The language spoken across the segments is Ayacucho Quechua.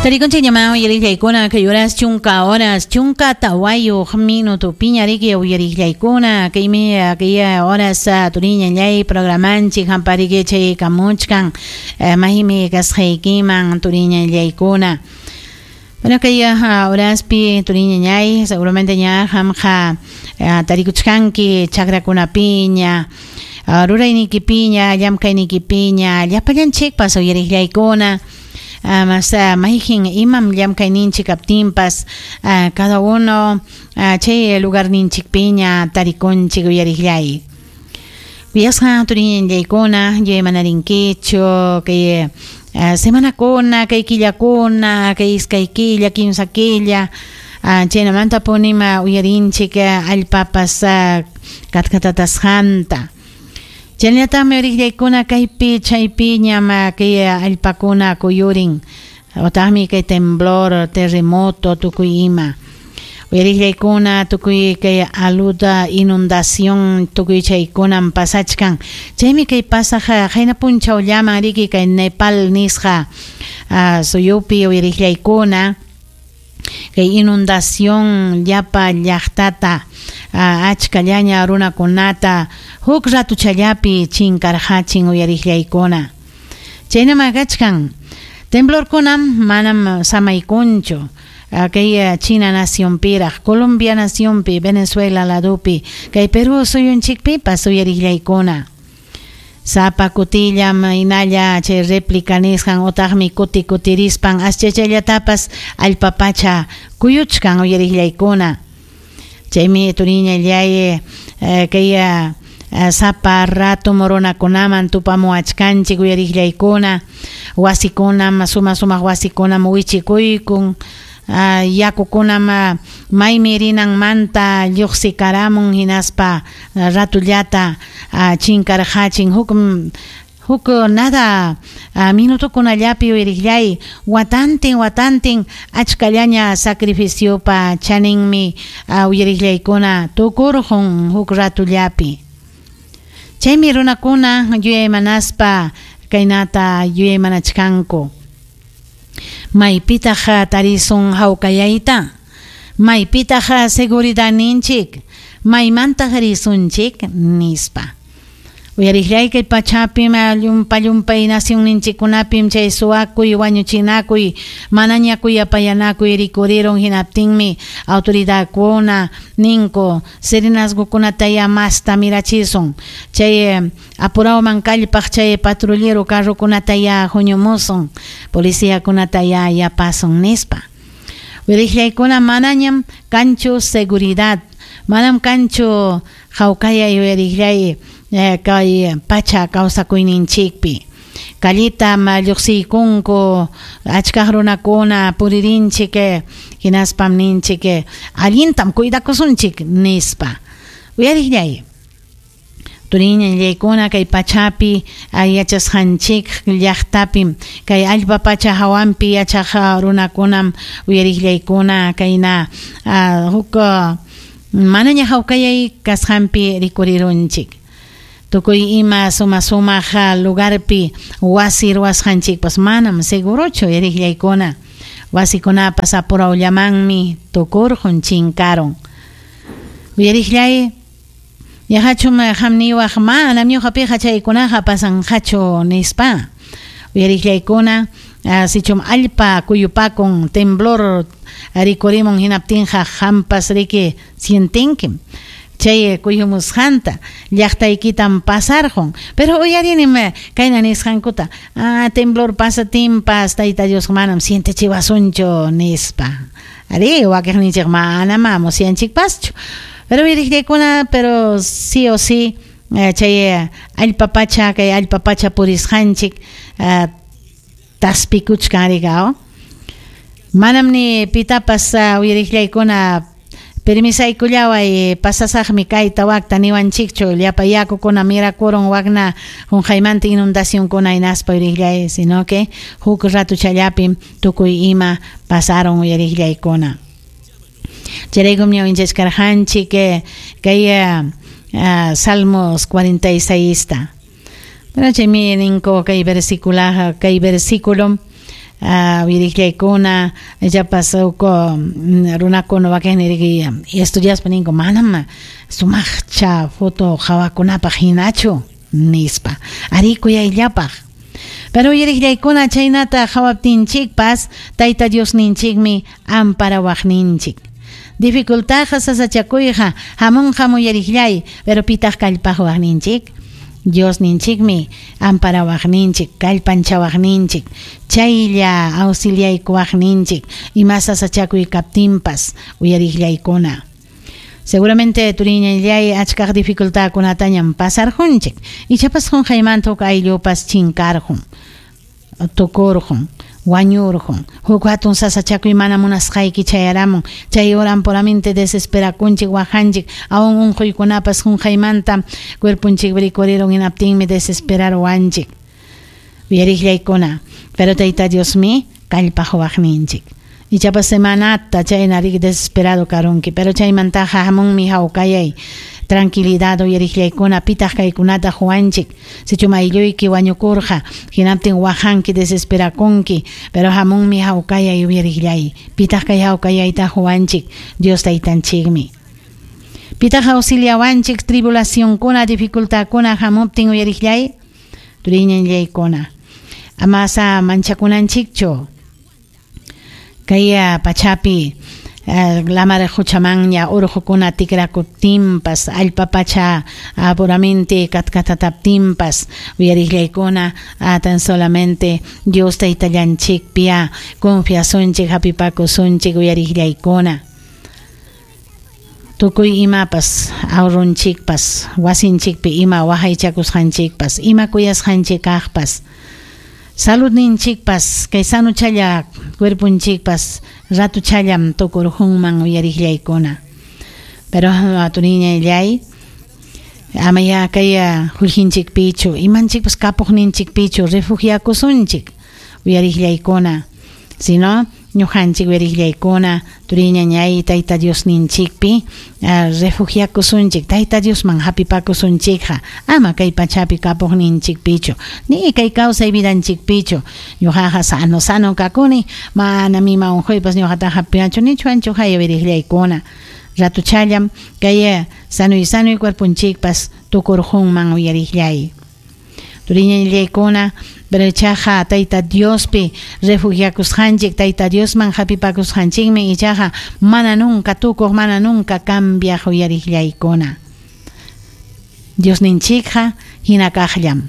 Tarikunchikñamá uyariqllaykuna kay horas chunka horas chunka tawayuq minutupiña riki uyariqllaykuna kaymi kay horas turiñallay programanchik hampariki chayaykamuchkan maymi kasqaykiman turiñallaykuna. Bueno, kay horaspi turiñañay seguramente ña qamqa tarikuchkanki chakrakunapiña ruraynikipiña llamkaynikipiña llapallanchikpas uyariqllaykuna. Mas mayqin imam llamkayninchik kaptinpas cada uno chay lugarninchikpiña tarikunchik uyariqllay. Kuyasqa turiñallaykuna yuyaymanarинkichu kay semanakuna, kay killakuna, kay iskay killa, kimsa killa chaynamantapunim uyarinchik allpapas katkatatasqanta. Chaynallataqmi uyariqllaykuna kaypi chaypiñam kay allpakuna kuyurin otaqmi kay temblor, terremoto tukuy ima. Uyariqllaykuna tukuy kay aluda, inundación tukuy chaykunam pasachkan. Chaymi kay pasaq qayna punchawllaman riki kay Nepal nisqa suyupi uyariqllaykuna kay inundación llapa llaqtata achkallaña runakunata huk ratuchallapi chinkarqachin uyariqllaykuna. Chaynam kachkan. Temblorkunam manam samaykunchu. Kay China nacionpiraq, Colombia nacionpi, Venezuela ladopi, kay Perú suyunchikpipas uyariqllaykuna. Sapa kutillam hinalla chay réplica nisqan otaqmi kuti kutirispan aschachallatapas allpa pacha kuyuchkan uyariqllaykuna. Chaymi turiñallay kay sapa rato runakunaman tupamuwachkanchik uyariqllaykuna, wasikunam suma sumaq wasikunam wichikuykun, yakukunam maymi rinanmanta lluqsikaramun hinaspa ratullata chinkarqachin huk huk nada minutokunallapi uyariqllay watantin watantin achkallaña sacrificiopa chaninmi uyariqllaykuna tukurqun huk ratullapi. Chaymi runakuna yuyaymanaspa kaynata yuyaymanachkanku. Maypitaq tarisun hawkayayta, maypitaq seguridadninchik, maymantaq risunchik nispa. Uyariqllay kay pachapim llumpa llumpay nacionninchikkunapim chay suwakuy wañuchinakuy manaña kuyapayanakuy rikurirun hinaptinmi autoridadkuna ninku serenazgokunataya masta mirachisun chay apurawman kallpaq chay patrullero carrokunataya huñumusun policiakunataya yapasun nispa. Uyariqllaykuna manañam kanchu seguridad, manam kanchu hawkayay uyariqllay kay pacha kawsakuyninchikpi. Callitam lluqsiykunku achkaq runakuna puririnchik hinaspam ninchik allintam cuidakusunchik nispa. Uyariqllay turiñallaykuna kay pachapi yachasqanchik llaqtapim kay allpa pacha hawanpi yachaq runakunam uyariqllaykuna kayna huk manaña hawkayay kasqanpi rikurirunchik. Tukuy ima suma sumaq lugarpi wasi ruwasqanchikpas manam segurochu uyariqllaykuna. Wasikunapas apurawllamanmi tukurqun chinkarun. Uyariqllay yaqachum qamniwaq manam ñuqapiqa chaykunaqa pasanqachu nispa. Uyariqllaykuna sichum allpa kuyupakun temblor rikurimun hinaptinqa qampas riki sientinkim. Chay kuyumusqanta llaqtaykitam pasarqun pero uyarinim kayna nisqankuta temblor pasatinpas Tayta Dios manam sientechiwasunchu nispa. Ari wakiqninchik manam musyanchikpaschu. Pero uyariqllaykuna pero sí o sí chay allpa pacha kay allpa pacha purisqanchik taspikuchkan riqa. Manam ni pitapas uyariqllaykuna permisaykullaway pasasaqmi kayta wakta niwanchikchu llapa yakukuna mirakurun wakna qunqaymanta inundacionkuna hinaspa uyariqllay sino que huk ratuchallapim tukuy ima pasaron uyariqllaykuna. Chayraykum ñawinchachkarqanchik kay Salmos 46 ta. Pero chaymi ninku kay versículo kay versículo Uyariqllaykuna ichapas huk runakuna wakinni estudiaspa ninku manam sumaqcha foto qawakunapaq hinachu nispa. Arí, kuyayllapaq. Pero uyariqllaykuna chaynata qawaptinchikpas Tayta Diosninchikmi amparawaqninchik. Dificultadqa sasachakuyqa hamunqam uyariqllay, pero pitaq kallpaqwaqninchik? Diosninchikmi amparawaqninchik, kallpanchawaqninchik, chaylla auxiliaykuwaqninchik ima sasachakuy kaptinpas uyariqllaykuna. Seguramente turiñallay achkaq dificultadkunatañam pasarqunchik. Ichapas qunqaymanta huk ayllupas chinkarqun, tukurqun, wañurqun. Huk hatun sasachakuy mana munasqayki chayaramun. Chay horam puramente desesperakunchik, waqanchik, aún unquykunapas qunqaymanta cuerponchik rikurirun hinaptinmi desesperaruwanchik. Uyariqllaykuna, pero Tayta Diosmi kallpaqwaqninchik. Ichapas semanata chayna riki desesperado karunki, pero chaymantaqa hamunmi hawkayay, tranquilidad uyariqllaykuna, pitaq kaykunata huwanchik. Sichum aylluyki wañukurqa, hinaptin waqanki, desesperakunki, pero hamunmi hawkayay uyariqllay. Pitaq kay hawkayayta huwanchik, Dios Taytanchikmi. Pitaq auxiliawanchik tribulacionkuna, dificultadkuna hamuptin uyariqllay, turiñallaykuna. Amasa manchakunanchikchu. Kay pachapi lamar quchamanña urqukuna tikrakuptinpas, allpa pacha puramente katkatataptinpas, uyariqllaykuna tan solamente Dios Taytallanchikpiya confiasunchik, hapipakusunchik uyariqllaykuna. Tukuy imapas ahorrunchikpas, wasinchikpi ima waqaychakusqanchikpas, ima kuyasqanchik kaqpas, saludninchikpas, kay sanuchalla cuerponchikpas ratuchallam tukurqunman uyariqllaykuna. Pero turiñallay, amaya kay qullqinchikpichu, imanchikpas kapuqninchikpichu refugiakusunchik uyariqllaykuna. Sino ñuqanchik uyariqllaykuna turiñañay Tayta Diosninchikpi refugiakusunchik, Tayta Diosman hapipakusunchikqa, ama kay pachapi kapuqninchikpichu, ni kay kawsay vidanchikpichu. Ñuqaqa sano sano kakuni, manam ima unquypas ñuqataqa hapiwanchu nichuwanchu haya uyariqllaykuna. Ratuchallam kay sanuy sanuy cuerponchikpas tukurqunman uyariqllay. Turiñallaykuna, pero ichaqa Tayta Diospi refugiakusqanchik, Tayta Diosman hapipakusqanchikmi ichaqa mana nunca tukuq, mana nunca cambiaq uyariqllaykuna. Diosninchikqa hina kaqllam.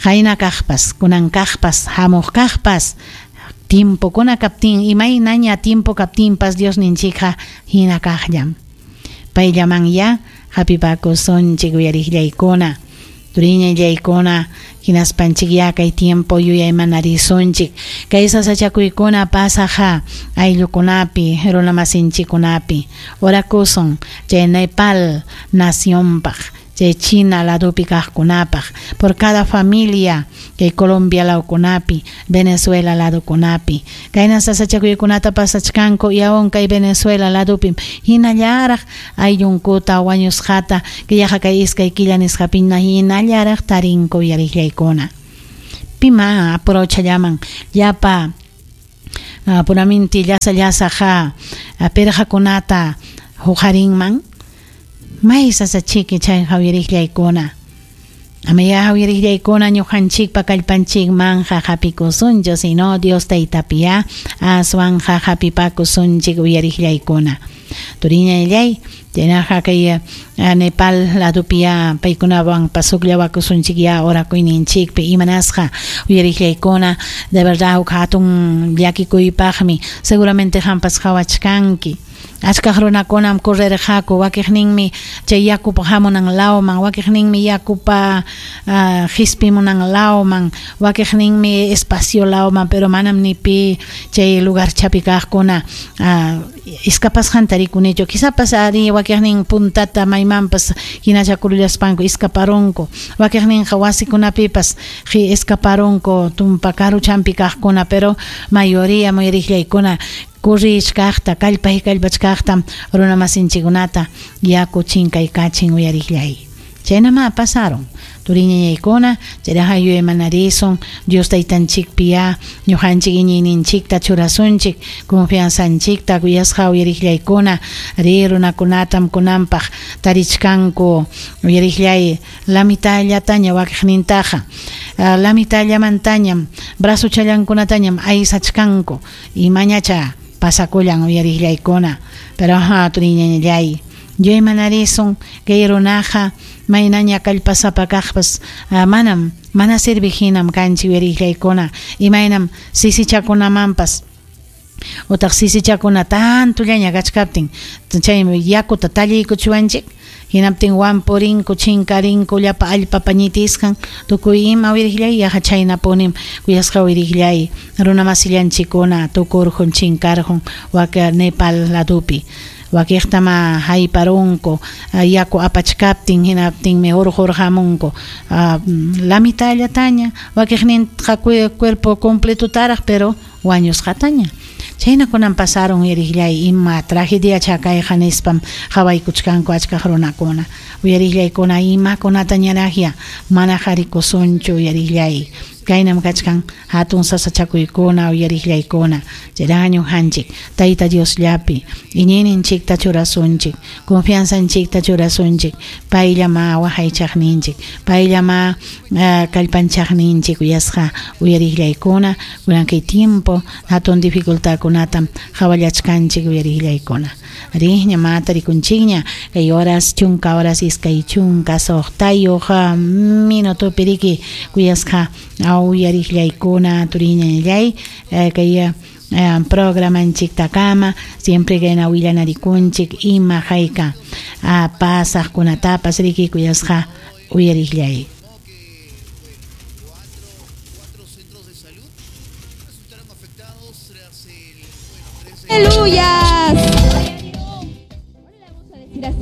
Qayna kaqpas, kunan kaqpas, hamuq kaqpas, tiempokuna kaptin, imaynaña tiempo kaptinpas Diosninchikqa hina kaqllam. Payllaman hapipakusunchik uyariqllaykuna. Turiñallaykuna, hinaspanchik ya kay tiempo yuyaymanarisunchik. Kay sasachakuykuna pasaqa ayllukunapi, runamasinchikkunapi. Orakusun chay Nepal nacionpaq, chay China ladupi kaqkunapaq, por cada familia kay Colombia lawkunapi, Venezuela ladukunapi. Kayna sasachakuykunata pasachkanku y aún kay Venezuela ladupi hinallaraq ayllunkuta wañusqata killaqa kay iskay killa nisqapina hinallaraq tarinku uyariqllaykuna. Pima aprochallaman llapa puraminti llasa llasaqa pirqakunata huqarinman. May sasachiki chay uyariqllaykuna. Amaya uyariqllaykuna ñuqanchikpa kallpanchikmanja hapikusunchu, sino Dios Taytapiya aswanja hapipakusunchik uyariqllaykuna. Turiñallay, chaynaqa kay Nepal ladupiya paykunawan pasuqllawakusunchik ya orakuyninchikpi imanasqa uyariqllaykuna, de verdad huk hatun llakikuypaqmi seguramente qampas qhawachkanki. Achkaq runakunam correrqaku, wakiqninmi chay yakupa hamunan lawman, wakiqninmi yakupa qispimunan lawman, wakiqninmi espacio lawman, pero manam ni pi chay lugar chapi kaqkuna iskapasqanta rikunichu. Quizás ari wakiqnin puntata maymanpas hinachakurullaspanku iskaparunku, wakiqninqa wasikunapipas iskaparunku tumpa karuchampi kaqkuna, pero mayoría muyariqllaykuna kurrichkaqta, kallpay kallpachkaqta runamasinchikkunata yaku chinkaykachin uyariqllay. Chaynama pasaron. Turiñañaykuna, chayraqa yuyaymanarisun Dios Taytanchikpiyá ñuqanchik iñiyninchikta churasunchik, confianzanchikta kuyasqa uyariqllaykuna, ri runakunatam kunanpaq tarichkanku uyariqllay la mitallataña wakiqnintaqa, la mitallamantañam brazochallankkunatañam aysachkanku, imañacha pasakullan uyariqllaykuna, pero turiñañallay yuyaymanarisun kay runaqa maynaña kallpasapa kaqpas manam mana serviq hinam kanchik uyariqllaykuna, imaynam sisichakunamanpas utaq sisichakuna tantollaña kachkaptin chaymi yakuta talliykuchiwanchik, hinaptin wampurinku chinkarinku llapa allpapa ñitisqan tukuy ima uyariqllay yaqa chaynapunim kuyasqa uyariqllay runamasillanchikkuna tukurqun chinkarqun wak Nepal ladopi wakiqtama hayparunku yaku apachkaptin hinaptinmi hurqurqamunku la mitallataña wakiqninqa cuerpo completotaraq pero wañusqataña chaynakunam pasarun uyariqllay ima tragediacha kayqa nispam qawaykuchkanku achkaq runakuna uyariqllaykuna imakunatañaraqya mana qarikusunchu uyariqllay kaynam kachkan hatun sasachakuykuna uyariqllaykuna chayraqa ñuqanchik Tayta Diosllapi iñiyninchikta churasunchik confianzanchikta churasunchik payllamá waqaychaqninchik payllamá kallpanchaqninchik uyasqa uyariqllaykuna kunan kay tiempo hatun dificultadkunatam qawallachkanchik uyariqllaykuna riqña ma tarikunchikña kay horas 10 horas 26 minutopi riki kuyasqa uyariqllaykuna turiñañallay kay programanchiktakama siempre kayna willanarikunchik ima hayka pasaqkunatapas riki kuyasqa uyariqllay. Aleluya.